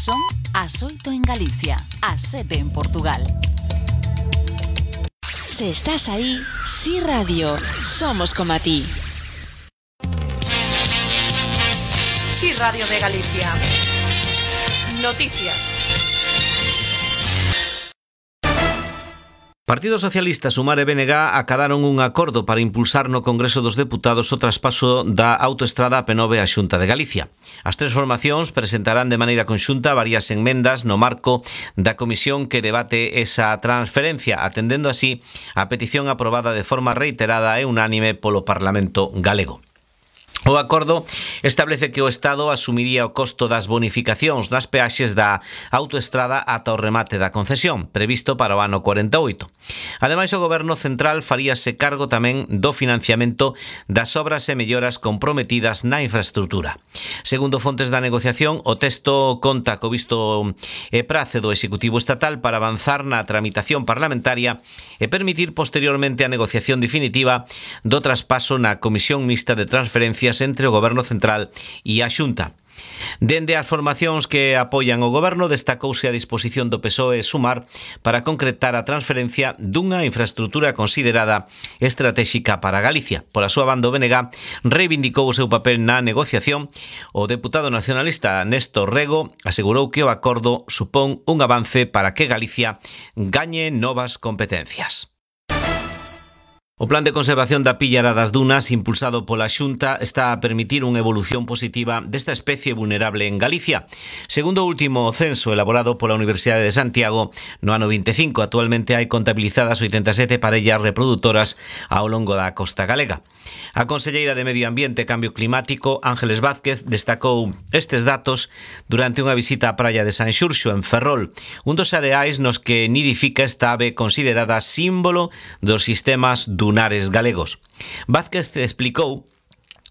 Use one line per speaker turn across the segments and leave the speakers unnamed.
Son as 8 en Galicia, as 7 en Portugal.
Si estás ahí, Sí Radio, somos como a ti.
Sí Radio de Galicia. Noticias.
Partido Socialista, Sumar e BNG acadaron un acordo para impulsar no Congreso dos Deputados o traspaso da autoestrada P9 á Xunta de Galicia. As tres formacións presentarán de maneira conxunta varias enmendas no marco da comisión que debate esa transferencia, atendendo así a petición aprobada de forma reiterada e unánime polo Parlamento galego. O acordo establece que o Estado asumiría o costo das bonificacións nas peaxes da autoestrada ata o remate da concesión, previsto para o ano 48. Ademais, o Goberno Central faríase cargo tamén do financiamento das obras e melloras comprometidas na infraestrutura. Segundo fontes da negociación, o texto conta co visto e prace do Executivo Estatal para avanzar na tramitación parlamentaria e permitir posteriormente a negociación definitiva do traspaso na Comisión Mixta de Transferencias entre o Goberno Central e a Xunta. Dende as formacións que apoian o Goberno, destacouse a disposición do PSOE Sumar para concretar a transferencia dunha infraestructura considerada estratéxica para Galicia. Pola súa banda, o BNG reivindicou o seu papel na negociación. O deputado nacionalista Néstor Rego asegurou que o acordo supón un avance para que Galicia gañe novas competencias. O Plan de Conservación da Pillara das Dunas, impulsado pola Xunta, está a permitir unha evolución positiva desta especie vulnerable en Galicia. Segundo o último censo elaborado pola Universidade de Santiago, no ano 25, actualmente hai contabilizadas 87 parellas reproductoras ao longo da costa galega. A conselleira de Medio Ambiente e Cambio Climático, Ángeles Vázquez, destacou estes datos durante unha visita á praia de San Xurxo, en Ferrol, un dos areais nos que nidifica esta ave considerada símbolo dos sistemas dunares galegos. Vázquez explicou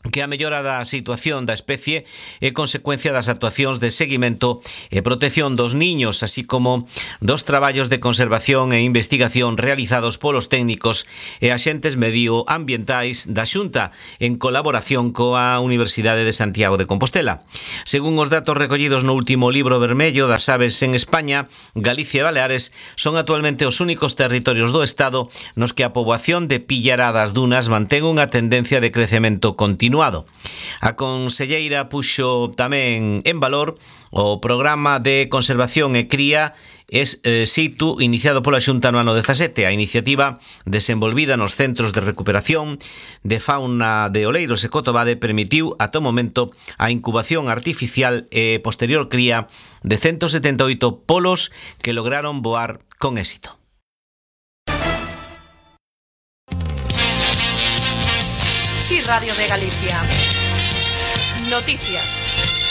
que a mellora da situación da especie é consecuencia das actuacións de seguimento e protección dos niños, así como dos traballos de conservación e investigación realizados polos técnicos e axentes medioambientais da Xunta en colaboración coa Universidade de Santiago de Compostela. Según os datos recollidos no último libro vermello das aves en España, Galicia e Baleares son actualmente os únicos territorios do Estado nos que a poboación de pillara das dunas mantén unha tendencia de crecemento continuado. A conselleira puxo tamén en valor o programa de conservación e cría situ iniciado pola Xunta no ano 17. A iniciativa desenvolvida nos centros de recuperación de fauna de Oleiros e Cotobade permitiu ata o momento a incubación artificial e posterior cría de 178 polos que lograron voar con éxito.
Sí Radio de Galicia. Noticias.